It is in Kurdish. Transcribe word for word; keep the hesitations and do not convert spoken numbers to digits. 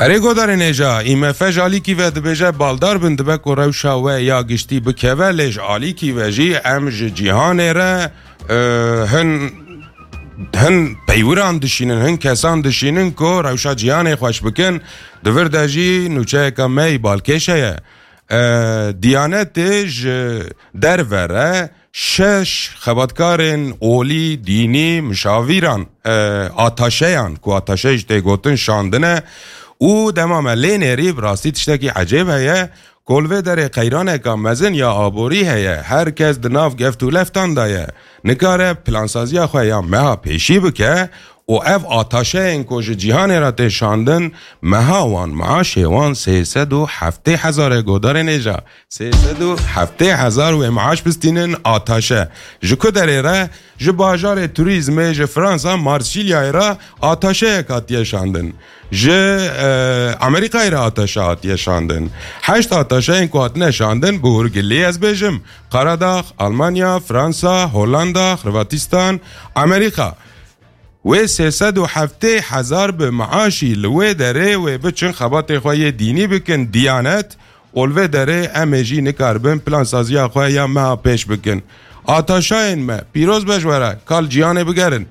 Erê godarên hêja, î me fe ji alîkî ve dibêje baldar bin, dibe ku rewşa we ya giştî bikeve, lê ji alîkî ve jî em ji cîhanê re, e, hin, hin peywiran dişînin, hin kesan dişînin ku rewşa cîhanê xweş bikin. Di vir de jî nûçeyeke me yî balkêş heye. E, Diyanetê ji derve re şeş xebatkarên olî, dînî, mişavîran, e, ataşeyan, ku ataşe jî tê gotin, şandine û dema me lê nêrî, bi rastî tiştekî ecêb heye, ku li vê derê qeyraneka mezin ya aborî heye, her kes di nav geft û leftan de ye, nikare plansaziya xwe ya meha pêşî bike û ev ataşeyên ku ji cîhanê re tê şandin, meha wan, maaşê wan sê sed û heftê hezar e, godarên hêja. Sê sed û heftê hezar wê maaş bistînin ataşe. Ji ku derê re? Ji bajarê turîzmê, ji Fransa, Marsilyayê re ataşeyek hatiye şandin. Ji, e, Amerîkayê re ataşe hatiye şandin. Heşt ataşeyên ku hatine şandin, bi hûrgilî ez bêjim: Karadax, Almanya, Fransa, Hollanda, Xirvatîstan, Amerîka. Wê sê sed û heftê hezar bi maaşî li wê derê wê biçin xebatê xwe yê dînî bikin, Diyanet, û li vê derê em ê jî nikaribin plansaziya xwe ya meha pêş bikin. Ataşayên me, pîroz be ji we re, ka li cîhanê bigerin.